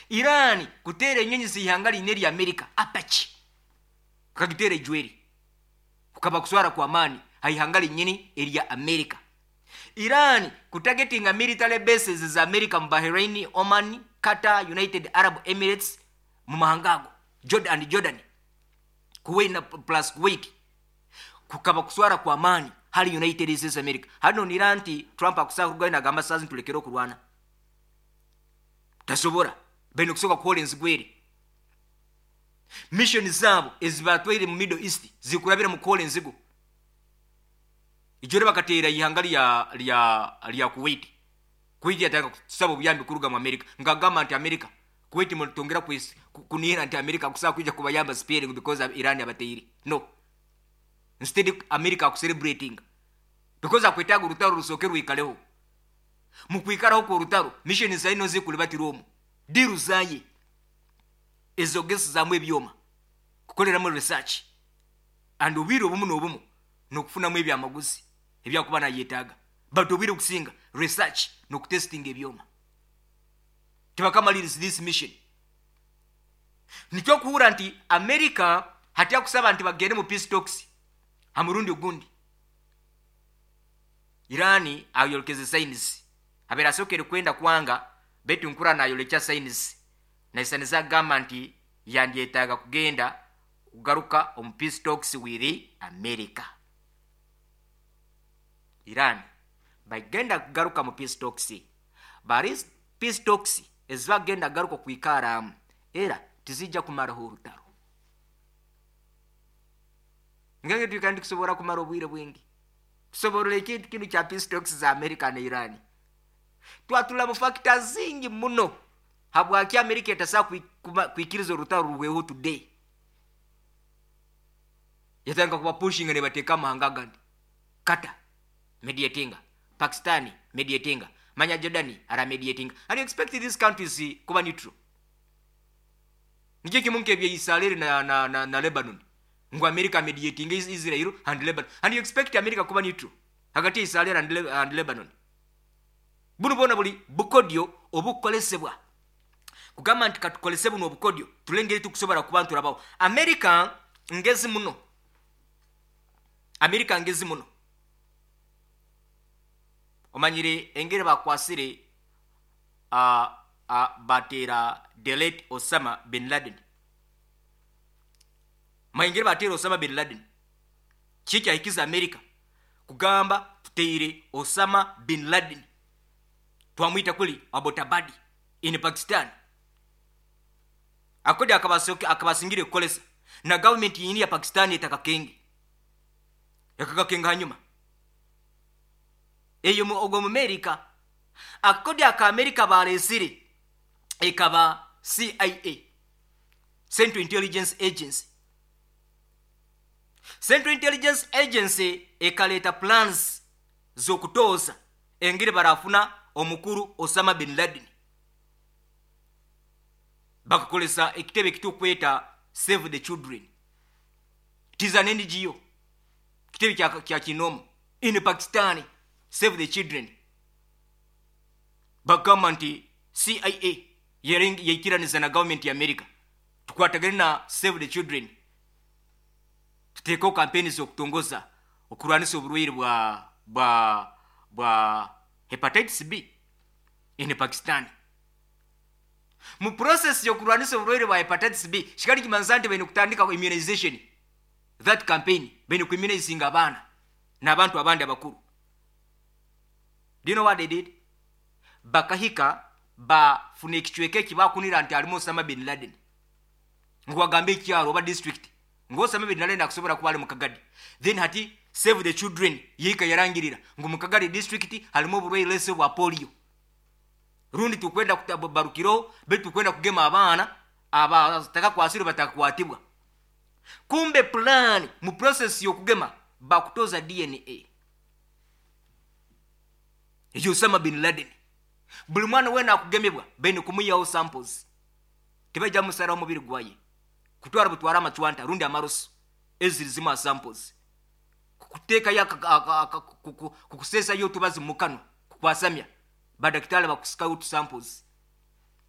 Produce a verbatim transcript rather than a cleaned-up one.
Iran kuteera enyonyi z'ihanga liine erya America, Apache kukagiteera ejweri, kukaba kuswara kwa maani ha ihanga linyini erya America. Iran kutargetinga military bases za America mu Bahrain, Oman, Qatar, United Arab Emirates, mu mahanga ago, Jordan and Jordan, Kuwait na plus Kuwait, kukaba kuswara kwa maani hali United States America. Hano nira nti Trump akusaka kugayo nagamba sazi ntulekere okurwana, tasobora bene kusoka kuhola enzigwere. Mission zabo ezibatwaire mu Middle East zikurabira mu kuhola enzigo. Ijore bakateera ihanga lya lya lya Kuwait. Kuwait yataka kusaba obuyambi kuruga mu America, ngagamba nti America Kuwait mutongera kunihira nti America kusaba kuja kubayamba sparing because of Iran abateire. No, instead America akucelebrating because akwetaga urutaro rusoke rwikaleho. Mukwikaraho ku rutaro mission zaino zikulibatirwomu diru zaye ezogesi zamu ebyoma kukoleramu research and obwire obumu n'obumu n'okufunamu ebyamaguzi ebyakuba nayetaaga, but obwire okusinga research n'okutestinga ebyoma. Tebakamaliriza this mission. Nikyo okuhura nti America hati akusaba nti bagende mu peace talks. Ha murundi ogundi Irani ayolekeze signs, abeera asokere kwenda kwanga, betu nkura nayolekya signs naisaniza agamba nti yandyetaaga kugenda kugaruka omu peace talks with America. Iran bagenda kugaruka mu peace talks, bari peace talks ezibagenda garuka kwikaramu era tizijja kumaraho orutaro. Ngenge twikandi kusobora kumara obwire bwingi tusoborora ekintu kinu kya peace talks za America na Iran. Twatula mu factors zingi muno habwaki America etasa kwikiriza orutaro ruhweho today. Yatanga kuba pushinga ne bateeka amahanga agandi, Qatar mediatinga, Pakistani mediatinga, manya Jordan ara mediatinga, and you expect these countries kuba neutral? Nikyo kimu nk'ebya Israel na, na, na, na Lebanon, ngu America mediating Israel and Lebanon, and you expect America kuba neutral hagati ya Israel and, Le and Lebanon? Buno bwona buli bukodyo obukolesebwa kugamba nti katukolese buno obukodyo tulengeri tukusobola kuba nturabaho. America ngezi muno, America ngezi muno. Omanyire engeri bakwasire uh, uh, batera the late Osama bin Laden. Maengeri batera Osama bin Laden, kikyahikiza America kugamba tuteire Osama bin Laden, twamwita kuli Abbottabad in Pakistan. Akodi akabasingire kukolesa na government yini ya Pakistan etakakenge yakakakenga hanyuma eyo ogwo mu America. Akodi aka America balesire ekaba C I A, Central Intelligence Agency. Central Intelligence Agency ekaleta plans z'okutooza engeri barafuna omukuru Osama bin Laden. Bakakolesa ekitebe ekitukweta Save the Children. It is an N G O. Kitebe kya, kya kinomo in Pakistan, Save the Children. Bagamba nti C I A yaikiraniza na government ya America tukwatagane na Save the Children, tuteekeo kampeni z'okutongoza okurwanisa oburwaire bwa, bwa, bwa hepatitis B in Pakistan. Mu process y'okurwanisa oburwaire bwa hepatitis B, kikali kimanza nti baine kutandika immunization, that campaign baine kuimmunizinga abaana n'abantu abandi abakuru. Do you know what they did? Bakahika bafuna ekicweka ekibakunira nti alimu Osama bin Laden, ngu bagambe ekyalo oba district ngu Osama bin Laden akusobola kuba ali mu Kagadi. Then hati Save the Children yika yarangirira ngu mu Kagadi district halimu oburwaire lese bwa polio, rundi tukwenda barukiro betu tukwenda kugema abaana abatakakwasirwe batakwatibwa. Kumbe plan mu process y'okugema bakutoza D N A eyo Osama bin Laden. Buli mwana wena akugemebwa bene kumuyaho samples, tebajja musara omubiri gwaye kutwara butwara amacwanta rundi amaroso eziri zima samples kuteeka ya kukusesa yo tubazi mukano kukwasamya badakitale bakusika out samples.